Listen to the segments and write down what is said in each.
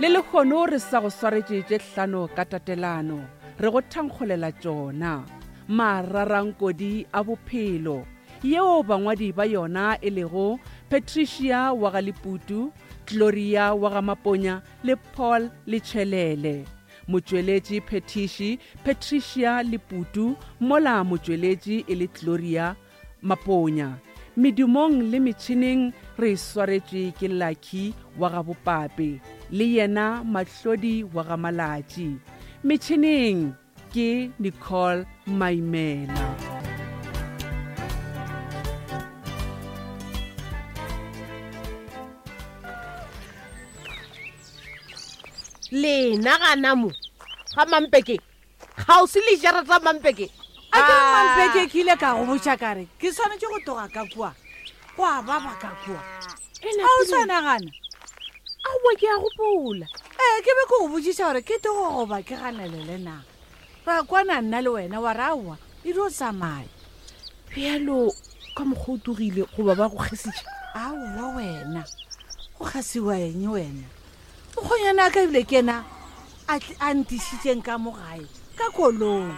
Le lehono re sa go swaretše tše hlano ka tatelano, re go thankgolela tšona. Mararankodi a bophelo, yeo bangwadi ba yona e lego Patricia wa ga Leputu, Gloria wa ga Maponya le Paul Letšhelele. Motšweletši phethiši Patricia Leputu mola motšweletši e le Gloria Maponya. Medumong le metšhineng re e swaretšwe ke Lucky wa ga Bopape le yena Mahlodi wa ga Malatši. Metšhineng ke Nicole Maimela. Lena gana mo ga Mampeke kgauswi le jarata Mampeke. A ke re Mampeke ke ile ka go botša ka re ke swanetše go tloga ka kua go a baba ka kua. A o sa nagana? Aowa ke a gopola. Ee ke be ke go botšiša gore ke tlogo goba ke ganelele na. Ra kwana nna le wena wa re aowa e dio tsamaya. Bjalo ka mokgwa o togile goba ba go kgesitše? Aowa wena go kgasiwa eng wena? Mokgonyana a ka ebile ke yena a ntišitšeng ka mo gae ka koloi.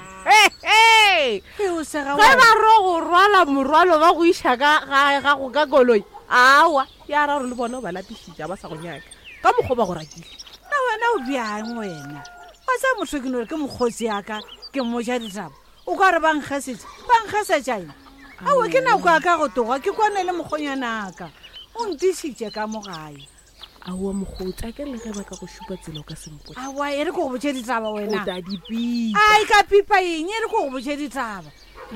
Ge o sega Ge ba ro go rwala morwalo ba go iša ka gae gago ka koloi, aowa ya ra gore le bona o ba lapišitše ba sa go nyaka ka mokgwa ba go rakile. Na wena o bjang wena? Wa tseba motho ke no re ke mokgotsi ya ka ke mmoja ditaba o ka re ba nkgesetše ba nkgesetša eng? Aowa ke nako ya ka go toga ke kwane le mokgonyana ka o ntišitše ka mo gae. Aowa mokgotsi, a ke re le ge ba ka go šupa tsela o ka se mpotše. Aowa e re ko go botše ditaba wena. O tla di pipa. Ai ka pipa eng e re ko go botše ditaba.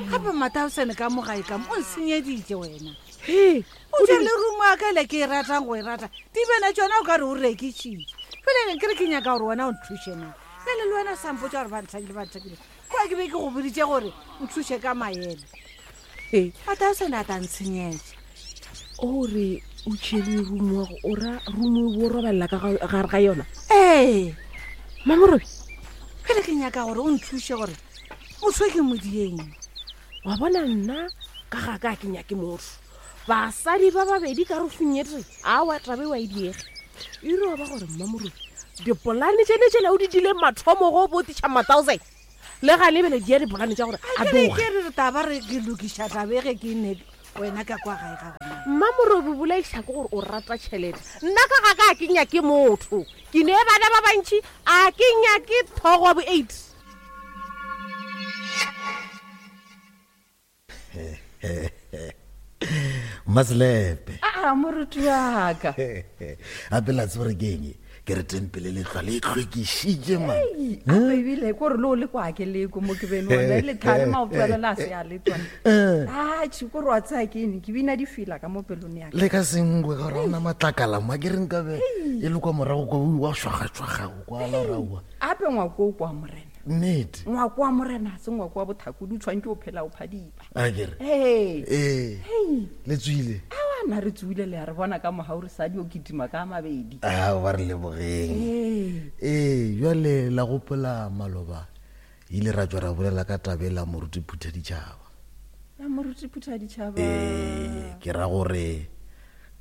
Gape Mataosane ka mo gae ka mo o nsenyeditše wena. He, O tšere le rumo ya ka ele ke e ratang go e rata. Dibene tšona o ka re o rekišitše. Bjale ke re ke nyaka gore wena o nthuše na. Bjale le wena o sa mpotša gore ba nthakile ba nthakile. Kwa ke be ke go boditše gore nthuše ka maele. He. Mataosane a ta ntshenyetša. O re o tšhere rumo wa go o ra rumo o bo robalela ka gare ga yona? Ee. Mamorobi. Bjale ke nyaka gore o nthuše gore motho ke modieng. Wa bona nna ka ga ka ke nyake motho. Basadi ba babedi ka rufung e tee. Aowa taba e wa e diege. E re wa ba gore Mmamorobi dipolane tšene tšela o di dileng mathomo go botiša Mataosane. Le ga lebele di ya dipolane tša gore a doge. Ke re taba re ke lokiša taba e ge ke ne wena ka kwa gae ga gona. Mmamorobi bolaiša ke gore o rata tšhelete. Nna ka ga ka ke nyake motho. Ke ne bana ba bantši a ke nyake thogo wa bo 8. Mmaselepe. A moruti wa ka. Gape la tseba gore ke eng? Ke re tempele le tlwa le hlwekišitše man. Ape ebile ko re le o le kwa ke leko mo ke bene ona le thare maoto a lena a se a le tsone. A tšhi ko re wa tsaya ke eng ke bina difela ka mo pelong ya ka. Le ka sengwe ga re ona matlakala mo ke re nkabe e le kwa morago kwa wa šwagatšwagago kwa la raua. Ape ngwako o kwa morena. Nnete. Ngwako wa morena se ngwako wa bothakodi o tshwanetse o phela o phadipa. A ke re. Ee. Ee. Le tswile. Awa na re tswile le a re bona ka mogau re sa dio kitima ka mabedi. A ba re lebogeng. Ee. Ee, jwale la gopola maloba ile ra tšwa ra bolela ka taba e la moruti Phuthaditšhaba. Ya moruti Phuthaditšhaba. Ee, ke ra gore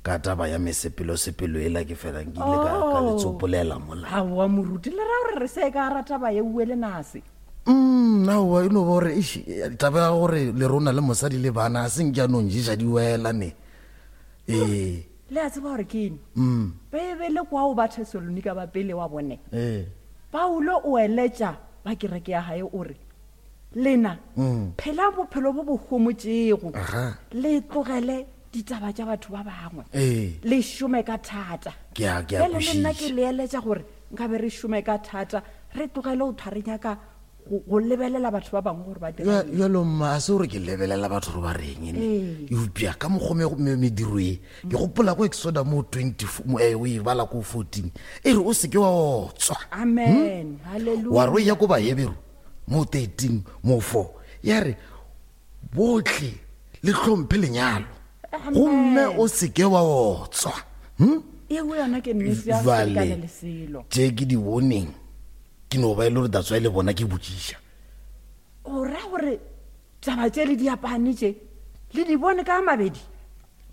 ka taba ya mesepelo-sepelo ela ke fela nkile ka, ka le tsopolela mola. Aowa moruti le ra gore re se ka ra taba ye uwe le nase. Aowa e no ba gore eish, taba ya gore le rona le mosadi le bana a se nke a no nješa di wela ne. Ee. Le a tseba gore ke eng? Beibele kwa o ba Thesalonika ba pele wa bone. Ee. Paulo o eletša ba kereke ya gae o re, Lena, phelang bophelo bo bo homotšego, le tlogele ditaba tša batho ba bangwe, le šome ka thata. Ke a, ke a Bjale le nna ke kwešiša. le eletša gore nkabe re šome ka thata, re tlogele go thwa re nyaka go, go lebelela batho ba bangwe gore ba dira Bja- eng. Bjalo mma, a se gore ke lebelela batho gore ba reng ne. Eupša ka mokgwa me, me, mediro e, ke gopola ko Exoda mo 20, mo, eh, o e bala ko 14, e re o se ke wa otswa. Amen. Hallelujah. Wa re o ya ko Baheberu mo 13 mo 4, ya re bohle le hlomphe lenyalo gomme o seke wa otswa. Hm? Eo yona ke nnete ya Jwale, selekane le selo. tše ke di boneng ke no ba e le gore that's why le bona ke botšiša. O ra gore taba tše le diapane tše le di bone ka mabedi?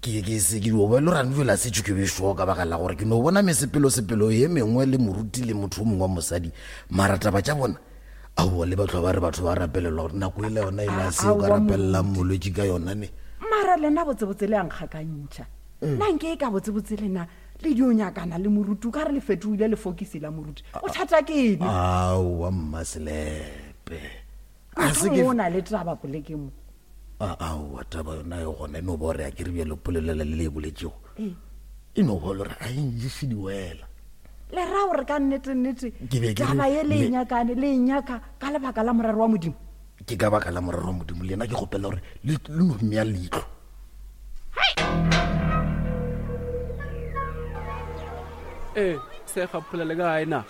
Ke ke se ke dio belo rane fela se ke be sure ka baka la gore ke no bona mesepelo sepelo ye mengwe le moruti le motho o mongwe wa mosadi mara taba tša bona aowa le batho ba re batho ba rapelelwa gore nako e le yona e la se o ka rapelelang molwetši ka yona ne mara lena botsebotse le ankgakantšha mm. nna nke e ka botsebotse lena le dio nyakana le moruti o ka re le fetoile lefokisi la moruti o thata ke eng aowa mmaselepe A se ke o na le taba polekeng mo. A aowa taba yona e gona e no ba gore a ke re bjalo polelela le le e boletšego. Ee. E no ba gore a e nješe diwela. Le ra gore ka nnete nnete taba ye le e nyakane le e nyaka ka lebaka la morero wa Modimo. Ke ka baka la morero wa Modimo le yena ke kgopela gore le no mmea leihlo. Ee, se gapola le ka gae na?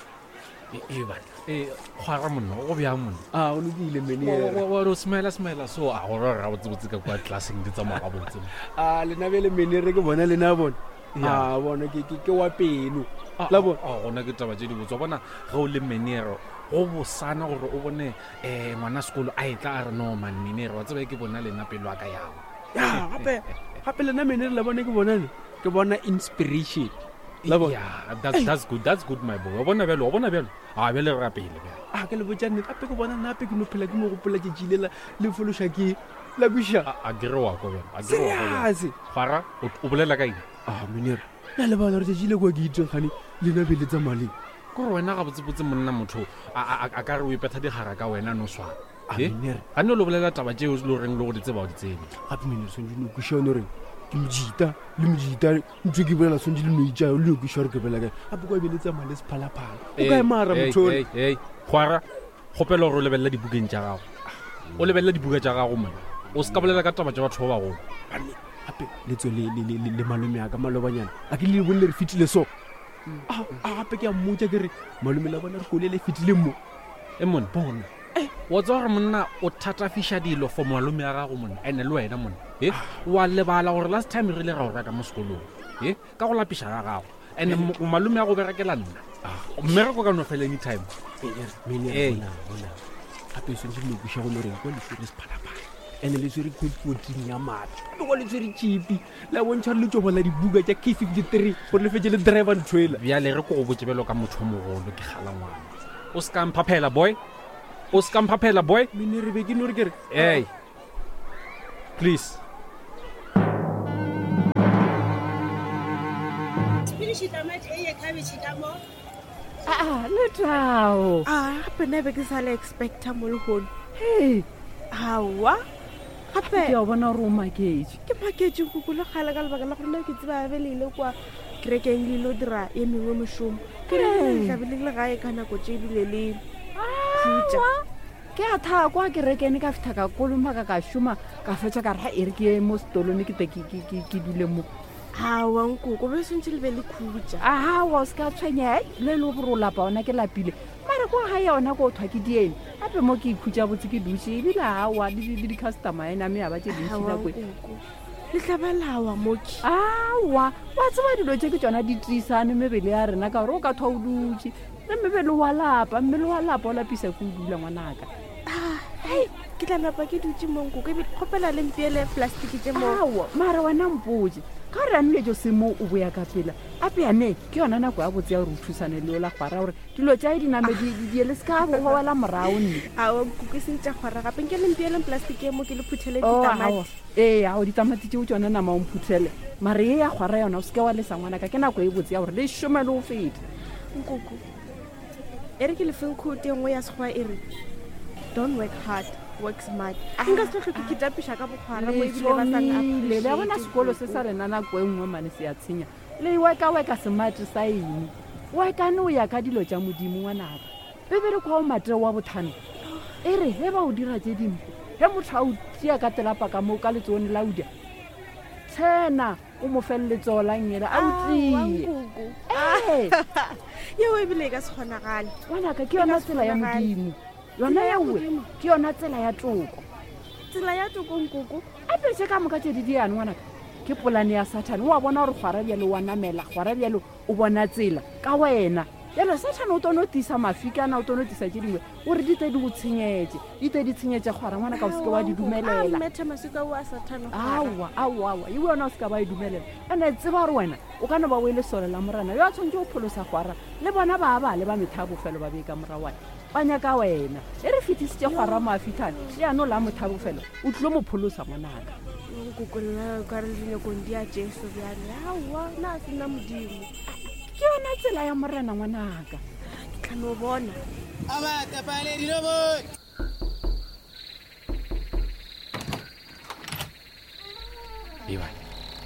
Ee bana, ee kgwara monna, go bjang monna? A o lokile menere. Wa re o smela smela so a go re ga botse ka kwa classeng di tsamaya ga botse. A lena bele menere ke bona lena bona. A bona ke ke ke wa pelo. La bona. A gona ke taba tše di botse. Wa bona ge o le menere go bosana gore o bone eh ngwana sekolo a etla a re no man menere wa tseba ke bona lena pelo a ka yago. Ya gape gape lena menere la bona ke bona ne ke bona inspiration. La bona? Yeah, that's, that's good, that's good my boy. Wa bona bjalo, wa bona bjalo. A bjale re rapele bjalo. A ke le botša nnete, gape ke bona nape ke no phela ke mo gopola tšatši le la le fološa ke la kweša. A ke re wa kwa bjalo, a ke re wa kwa bjalo. Serious. Gwara, o o bolela ka eng? A menere, na le bala gore tšatši le kwa ke itseng gane lena be le tsamaleng. Ke gore wena gabotsebotse monna motho a a a ka re o ipetha digara ka wena no swana. A Eh? menere. Ga ne o lo bolela taba tšeo le goreng le go di tseba o di tsebe. Gape menere swantse no kweša one goreng ke mojita le mojita ntho ke bolela swantse le no itša le no kweša gore ke bolela kae. Gape kwa be le tsamaya le sephalaphala. O kae mara motho ole? Gwara, kgopela gore o lebelela dibukeng tša gago. O lebelela dibuka tša gago monna. O se ka bolela ka taba tša batho ba bagolo. Banne, gape le tswe le, le, le, le malome a ka malobanyana. A ke le le bone le re fetile so. A, a gape ke a mmotša ke re malome la bona re kole le fetile mo. E monna. Bona. Wa tseba gore monna o thatafiša dilo for malome a gago monna ene le wena monna e wa lebala gore last time re ile ra o reka mo sekolong e ka go lapiša ga gago ene malome a go berekela nna mmereko ka no fela anytime Ee. Gape swantse le kweša go loreng kwa le swere sephalaphala ene le swere code 14 ya maatla gape kwa le swere tšipi la bontšha gore le tšo bala dibuka tša k 53 gore le fetse le driver ntho ela bjale re ko go botse bjalo ka motho o mogolo ke gala ngwana o se ka mphaphela boy o se ka mphaphela boy mene re be ke no re ke re hey please aa letao a gape nna be ke sa le expecta mo lehono hei aowa gape ke a bona gore o maketše ke maketše koko le kgale ka lebaka la gore nna ke tseba be le ile kwa kerekeng le ile dira ye mengwe mešomo ke re tlabe le le gae ka nako tše ebile le khutša ke a thaa kwa kerekene ka fitlha ka kolomaka ka šoma ka fetša ka re ga e re ke ye mo setolone ke te ke dule mo aowa nkoko be swantse le be le khutša aowa o se ka tshwenyega le le gore o lapa ona ke lapile mare kwa ga yona ko thwa ke dieng gape mo ke ikhutša botse ke dutše ebile aowa le di-customer ena me ya ba tše dintši nako e. Le tla ba lawa moki. Aowa, wa tseba dilo tše ke tšona di tiisane mebele ya rena ka gore o ka thwa o dutše le mebele wa lapa, mmele wa lapa o lapisa ke o dula ngwanaka. Ah, hei, ke tla napa ke dutše mo nkoko ebile kgopela le mpeele plastiki tše mo. Aowa, mara wena mpotše ka gore anile jo se mo o boya ka pela ape yane ke yona nako ya botse ya gore o thusane le yola kgwara gore dilo tša di name di di le se ka go wela morago nne. Aowa nkoko e seng tša kgwara gape nke le mpeeleng plastiki ye mo ke le phuthele Oh, ditamati. aowa. Ee, ao ditamati tšeo tšona nama o mphuthele. Mare ye ya kgwara yona o se ke wa lesa ngwanaka, ke nako e botse ya gore le šome le go feta. Nkoko, e re ke le feng quote e nngwe ya Sekgowa e re, Don't work hard, work smart. Nka se tlo hlwe ke kitapiša ka bokgwara mo Le ebile ba sa thomile, le a bona n-appreciate sekolo se sa nkoko. rena nako e nngwe mane se a tshenya. Le weka-weka semate sa eng? Wekane o ya ka dilo tša Modimo ngwanaka. Bibele kwa o Mateo wa botlhano e re ge ba o dira tše dimpe, ge motho a o tšea ka telapa ka mo ka letsogong la uja, tshena o mo fe le letsogo la nngele a o tlie. Ee. Yeo ebile e ka se kgonagale. Ngwanaka, ke yona tsela ya Modimo. Yona yeowe ke yona tsela ya toko. Tsela ya toko nkoko. Ape tše ka moka tše di diane ngwanaka ke polane ya Sathane. O a bona gore kgwara bjalo wa namela, kgwara bjalo o bona tsela ka wena. Bjale Sathane o tono tisa mafikana, o tono tisa tše dingwe, o re di tle di go tshenyetše, di tle di tshenyetše kgwara ngwana ka o seke wa di dumelela. Metha maswika o a Sathane. Aowa, aowa, aowa, iwe yona o se ka ba e dumelela. Ene tseba gore wena o ka no ba o e lesole la Morena yo a tshwanetse go pholosa kgwara, le bona ba ba le ba metha ya bofelo ba bee ka morawane. Ba nyaka wena. E re fetisitše kgwara mo a fihlane, ya no la motha bofelo, o tlilo mo pholosa ngwanaka. Nkoko nna ka re dinyakong di a Jesu bjale. Aowa, na se nna Modimo. Ke yona tsela ya Morena ngwanaka. Ke tla no bona. Ebane.